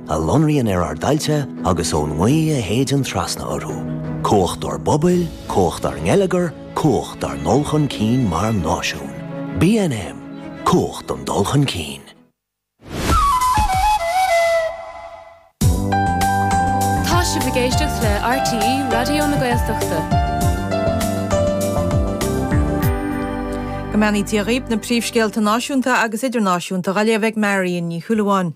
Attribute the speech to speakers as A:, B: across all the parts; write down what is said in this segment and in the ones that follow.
A: a lonraíonn ar ár dtailte agus ón ngaoth a shéideann trasna orthu. Cumhacht ár bpobail, cumhacht ár ngeilleagar, cumhacht ár ndul chun cinn mar náisiún. BNM, Cumhacht don dul chun cinn.
B: Tá sibh ag éisteacht le RTÉ Raidió na Gaeltachta.
C: Go mbeannaí Dia dhaoib, na príomhscéalta náisiúnta agus idirnáisiúnta á léamh ag Marion Ní Shúilleabháin.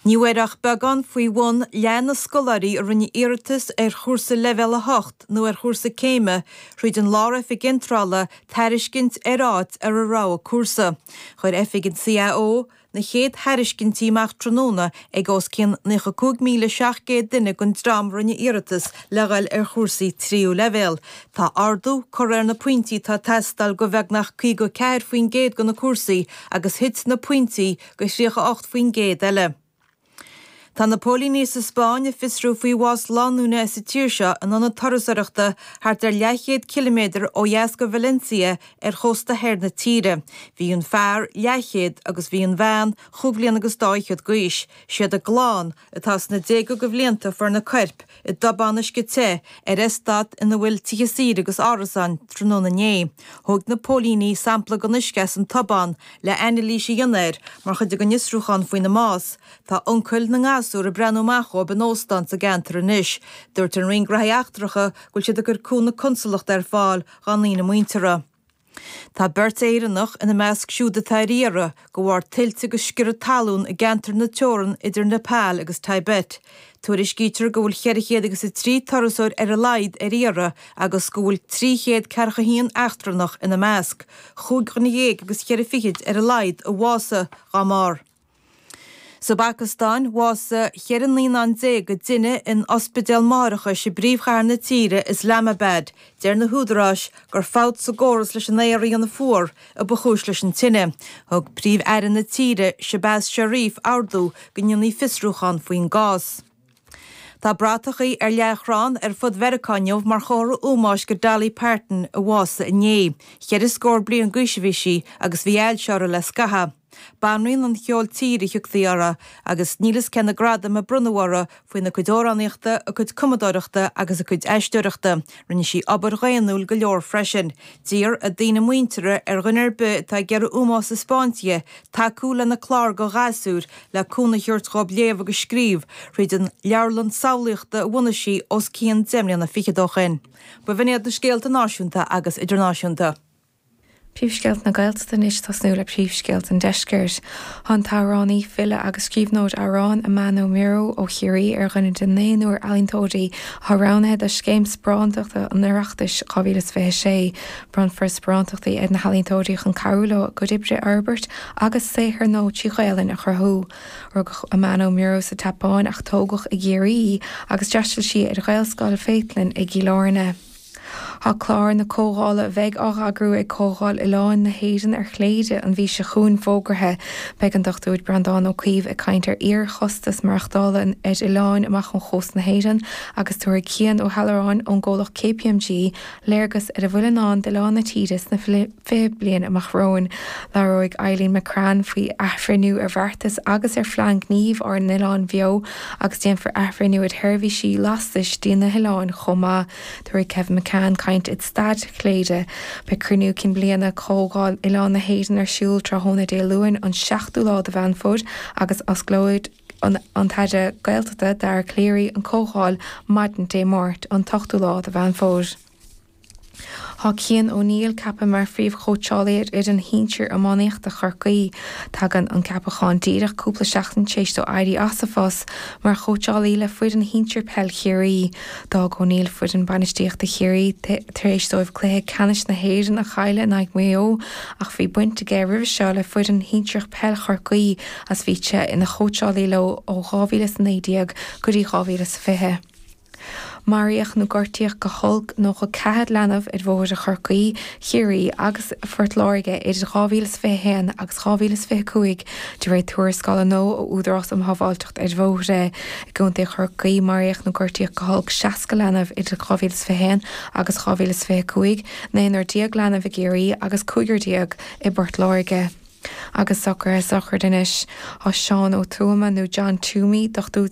C: Ní bhfuair ach beagán faoi bhun leath na scoláirí a rinne iarratas ar chúrsa Leibhéal 8 nó ar chúrsa céime thríd an Lár-Oifig Iontrála tairiscint ar áit ar a rogha cúrsa. Chuir oifig an CAO na chéad thairiscintí amach tráthnóna ag os cionn 95,700 duine den dream a rinne iarratas le dhul ar chúrsaí tríú leibhéal. Tá ardú curtha ar na pointí atá ag teastáil do bheagnach 54% de na cúrsaí agus thit na pointí do 38% eile. Tá na póilíní sa Spáinn ag fiosrú faoi bhás lánúine as an tír seo in ionad turasóireachta thart ar leathchéad ciliméadar ó dheas de Valencia ar chósta thoir na tíre. Bhí an fear leathchéad agus bhí an bhean chúig bhliana agus dá fhichead d'aois. Siad a gclann, atá sna déaga de bhlianta, a fuair na coirp i dtobán uisce te ar eastát ina bhfuil tithe saoire agus árasáin tráthnóna inné. Thóg na póilíní sampla den uisce as an tobán le anailís a dhéanamh air mar chuid den fhiosrúchán faoina mbás. Tá uncail na ngasúr ag breathnú amach dhóibh in óstán sa gceantar anois. Dúirt an Roinn Gnóthaí Eachtracha go bhfuil siad ag cur cúnamh consalachta ar fáil dhá ndaoine muinteartha. Tá beirt Éireannach ina measc siúd atá ar iarraidh de bharr tuilte agus sciorradh talún i gceantar na teorann idir Nepal agus Tibet. Tuairiscítear go bhfuil 403 turasóir ar a laghad ar iarraidh agus go bhfuil 341 eachtrannach ina measc. Chúig dhuine dhéag agus cheithre fichid ar a laghad a bhásaigh dá mbarr. Sa bPacastáin, bhásaigh 14 naíonán i dtine in ospidéal máithreachais i bpríomhchathair na tíre, Islamabad. Deir na húdaráis gur fabht sa gcóras leis an aer a dhéanamh fuar a ba chúis leis an tine. Thug Príomh-Aire na tíre, Shehbaz Sharif, ordú go ndéanfaí fiosrúchán faoin gcás. Tá bratachaí ar leathchrann ar fud Mheiriceá inniu mar chomhartha ómóis go Dolly Parton a bhásaigh inné. Cheithre scór bliain d'aois a bhí sí agus bhí ailse uirthi le scaitheamh. Banríon an cheoil tíre a thugtaí uirthi agus níl fhios cé na gradaim a bronnadh uirthi faoina cuid amhránaíochta, a cuid cumadóireachta agus a cuid aisteoireachta. Rinne sí obair dhaonnúil go leor freisin. D'iarr a daoine muinteartha ar dhuine ar bith atá ag iarraidh ómós a 'spáint di tacú lena clár do ghasúir le cúnamh a thabhairt dhóibh léamh agus scríobh thríd an leabharlann samhlaíochta a bhunaigh sí os cionn deich mbliana fichead ó shin. B'in iad na scéalta náisiúnta agus idirnáisiúnta.
D: Príomhscéalta na Gaeltachta anois ag tosnú le príomhscéalta an Deiscirt. Tá an t-amhránaí, file agus scríbhneoir amhrán Amano Miro ó Chiarraí ar dhuine de naonúr ealaíontóirí atá roghnaithe do Scéim Sparántachta an Oireachtais 2026. Bronnfar sparántachtaí ar na healaíontóirí chun cabhrú leo a gcuid oibre a fhorbairt agus saothar nua trí Ghaelainn a chruthú. Rugadh Amano Miro sa tSeapáin ach tógadh i gCiarraí í agus d'fhreastail sí ar Ghaelscoil Pheitleann i gCill Airne. Tá clár na comhdhála a bheidh á eagrú ag Comhdháil Oileáin na hÉireann ar Chléire an mhí seo chugainn fógartha. Beidh an Dr Breandán Ó Caoimh ag caint ar fhíorchostas maireachtála ar oileáin amach ó chósta na hÉireann agus tabharfaidh Cian Ó hAlluráin ón gcomhlacht KPMG léargas ar a bhfuil i ndán d'oileáin na tíre sna 20 bliain amach romhainn. Labhróidh Eileen McCrann faoi athbhreithniú ar bheartas agus ar phlean gnímh ár n-oileán bheo agus déanfar athbhreithniú ar sheirbhísí lastais dtí na hoileáin chomh maith. Tabharfaidh Kevin McCann caint ag Staid Chléire. Beidh cruinniú cinn bliana Chomhdháil Oileáin na hÉireann ar siúl tráthnóna Dé Luain an 7ú lá de Mheán Fómhair agus osclóidh an tAire Gaeltachta Dara Calleary an Chomhdháil maidin Dé Máirt an t-ochtú lá de Mheán Fómhair. Tá Cian O'Neill ceaptha mar phríomhchóitseálaí ar fhoireann shinsir iománaíochta Chorcaí. Tagann an ceapachán díreach cúpla seachtain tar éis dó éirí as a phost mar chóitseálaí le foireann shinsir peil Chiarraí. D'fhág O'Neill foireann bainistíochta Chiarraí tar éis dóibh cluiche ceannais na hÉireann a chailleadh in aghaidh Mhaigh Eo ach bhí baint aige roimhe seo le foireann shinsearach peil Chorcaí agus bhí sé ina chóitseálaí leo ó 2019 go dtí 2020. Maraíodh nó gortaíodh go holc 94 leanbh ar bhóithre Chorcaí, Chiarraí agus Phort Láirge idir 2021 agus 2025, de réir tuarascála nua ó Údarás um Shábháilteacht ar Bhóithre. I gContae Chorcaí, maraíodh nó gortaíodh go holc 60 leanbh idir 2021 agus 2025, naonúr déag leanbh i gCiarraí agus cúigear déag i bPort Láirge. Agus socruithe sochraide anois. Tá Seán Ó Tuama nó John Toomey, dochtúir.